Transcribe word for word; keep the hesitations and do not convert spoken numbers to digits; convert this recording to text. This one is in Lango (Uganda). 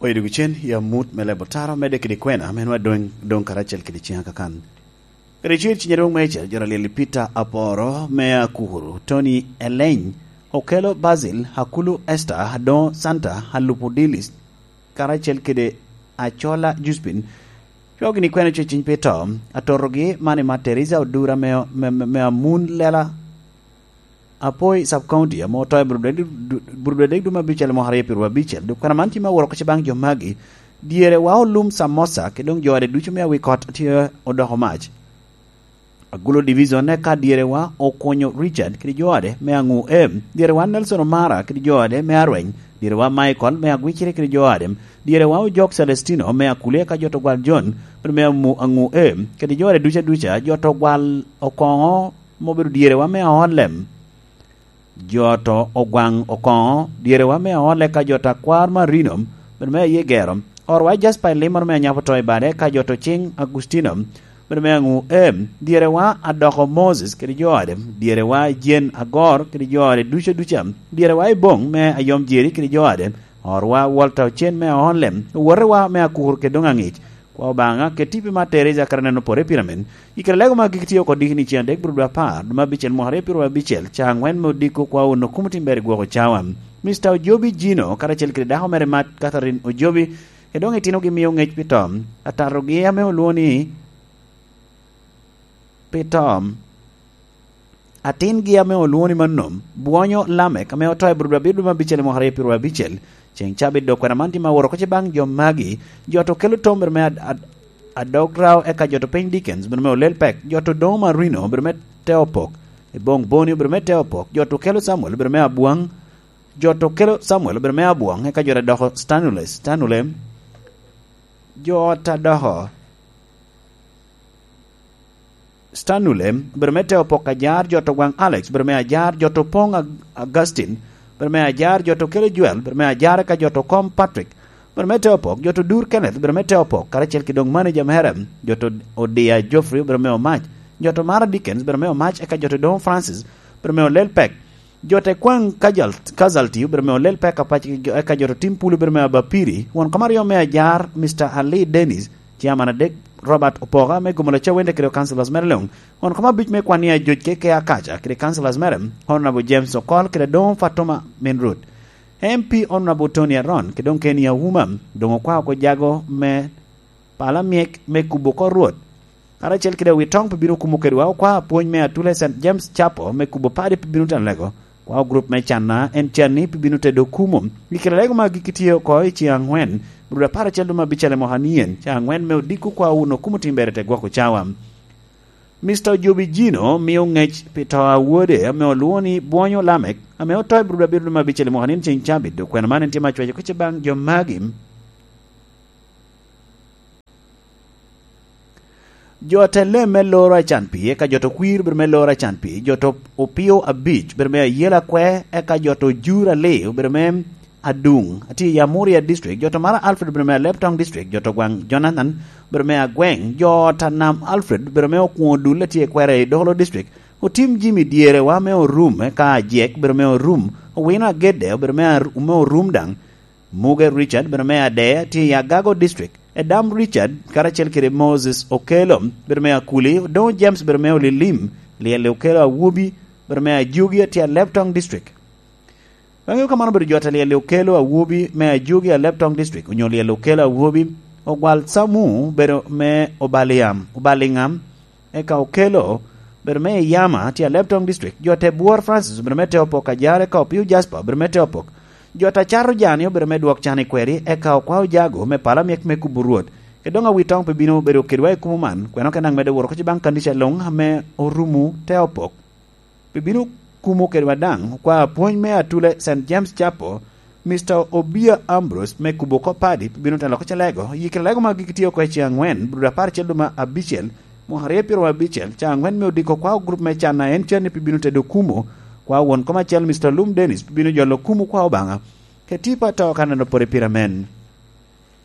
Oye dok cen i amut me lebo tara, medde kede kwena, ame nwa doŋ, doŋ karacel kede ciŋa kakan. Kede cir cinye dwoŋ meca, joro alyel i Peter Aporo, me Akuru, Tony Eleny, Okelo Basil, Akulu Esther, Adongo Santa, Alupo Dilis, karacel kede Acola Juspin, cwao gini kwena cweciny pi to, atotogi man i Matt Teresa Odura me, me, me, me Amun Lela, Apoi Sub County, ame oto i Burudek, Burudek dum abicel mwaka aryo pyeraryo abicel, dok kwena man tye me aworo oko baŋ jo magi, dyere wa olum Samosa, kede doŋ jo ade ducu me awi kot tye odoko mac. Agulo Division, eka dyere wa okonyo Richard kede jo ade me Aŋu M, dyere wa Nelson Omara kede jo ade me Arweny, dyere wa Michael me Agwicire kede jo ade, dyere wa Ojok Celestino me Akulia ka jo to gwal John, bene me Amu-, Aŋu M, kede jo ade duca duca, jo to gwal Okoŋo, ma obedo dyerewa me aolem. Jo to Ogwaŋ Okoŋo, dyerewa me aole ka jo to Akwar Marino, bene me aye gero. Orwa Jasper Elimoro me Anyapo to i bade ka jo to Ciŋ Agustino, bene me Aŋu M, dyerewa Adoko Moses kede jo ade, dyerewa Jane Agor kede jo ade duca duca, dyerewa Iboŋ me Ayom Jeri kede jo ade, orwa Walter Ocen me aolem, owotewa me Akur kede doŋ Aŋic, Kwa Obaŋa, ket tipo i Matt Teresa kara neno pore pira men. I kare lego ma agikki tye oko diki ni ceŋ adek bro dwe apar, dwe me abicel mwaka aryo pyeraryo abicel, ca aŋwen me odiko kwa onno kumo tim ber i gwoko cawa. Mister Ojobi Jino, karacel kede dako mere Matt Catherine Ojobi, kede doŋ itinogi mio ŋec pi tom. Atatogi ame olwoŋo ni pi tom. Atingi ame olwoŋo ni Manom, Bwonyo Lamek, ame oto i Burudwa abiro dwe me abicel i mwaka aryo pyeraryo abicel. Ceŋ cabit dok kwena man tye ma aworo oko ce baŋ jo magi, jo to kelo tom bene me ad-, ad-, adog rao, eka jo to piny Dickens bene me olel pek, jo to doŋo Marino bene me te opok, i boŋ Boni bene me te opok, jo to kelo Samuel bene me abwaŋ, jo to kelo Samuel bene me abwaŋ, eka jo to doko Stanule, Stanule, jo ta doko Stanule, obedo me te opok ajar, jo to gwaŋ Alex, obedo me ajar, jo to poŋ Ag-, Augustine, obedo me ajar, jo to kelo Joel, obedo me ajar, eka jo to kom Patrick, obedo me te opok, jo to dur Kenneth, obedo me te opok, karacel ki doŋ manager mere, jo to Odia Geoffrey, obedo me omac, jo to Mara Dickens, obedo me omac, eka jo to doŋ Francis, obedo me olel pek, jo te kwaŋ Kajal-, Casualty, obedo me olel pek apac, eka jo to tim Pulu, obedo me abapiri, won kom aryo me ajar, Mister Ali Dennis, Chairman adek, Robert Opoka me Gomolo Cawende kede Councilors mere luŋ. Won kom abic me kwan i Ajoc K K Akaca kede Councilors mere, Honorable James Okol kede doŋ Fatuma Minrut. M P Honorable Tony Aron kede doŋ Kenny Auma, doŋ okwao oko jago me pala myek me kubo oko Rwot. Karacel kede Awitoŋ pi bino kumo kedwa, okwao apwony me Atule Saint James Chapel me kubo padi pi bino teno lego. Kwao grup me Canna en canni pi bino tedo kumo. I kare lego ma agikki tye oko i ceŋ aŋwen, bro dwe apar acel dwe me abicel i mwaka nien, ca aŋwen me odiko kwao wun okumo tim ber i te gwoko cawa. Mister Ojobi Jino mio ŋec pi to a wode ame olwoŋo ni Bwonyo Lamek, ame oto i bro dwe abiro dwe me abicel i mwaka nien ceŋ cabit, dok kwena man en tye ma cwaco kica baŋ jo magi. Jo te lem me loro acan pii, eka jo to kwir obedo me loro acan pii, jo to opio abic obedo me ayela kwe, eka jo to jur ali obedo me aduŋ, atye i Amuria District, jo to Mara Alfred obedo me Alebtong District, jo to gwaŋ Jonathan obedo me agweŋ, jo ta Nam Alfred obedo me okwoŋo dul atye i kwere i Dolo District, otim Jimmy dyerewa me orum, eka ajek obedo me orum, owino agedde obedo me ar-, me orum daŋ, Muge Richard, bedo me Adea, tye i Agago District. Edam Richard, karacel kede Moses Okello, bedo me Akuli, Odongo James, bedo me Olilim, Lyel Okello Awobi, bedo me Ajogi, tye i Alebtong District. Bang'e kamano obedo jot a Lyel Okello Awobi me Ajogi, Alebtong District, onyo Lyel Okello Awobi, Ogwal Samu, bedo me Obaliam, Obaliŋam, eka Okello, bedo me Iyama, tye i Alebtong District. Jo te Bwor Francis, bedo me te opok ajar, eka Opio Jasper, bedo me te opok. Jo ta cato jani obedo me dwok can i kweri, eka Okwao Jago me pala myek me kubo Rwot. Kede doŋ Awitoŋ pe bino bedo kedwa i kumo man, kweno ke naŋ medde woro oko ci baŋ kanica luŋ ame orumo te opok. Pe bino kumo kedwa daŋ, Okwao apwony me Atule Saint James Chapel, Mister Obia Ambrose me kubo oko padi pe bino telo oko calego, yikre lego ma gik tye oko i ceŋ aŋwen, bro dwe apar acel dwe me abicel, mwaka aryo pyeraryo abicel, ca aŋwen me odiko kwao grup me can a en canni pe bino tedo kumo, kwao won kom acel Mister Lum Dennis pe bino jolo kumo kwao Obaŋa, keti pa to ka neno pore pire amen.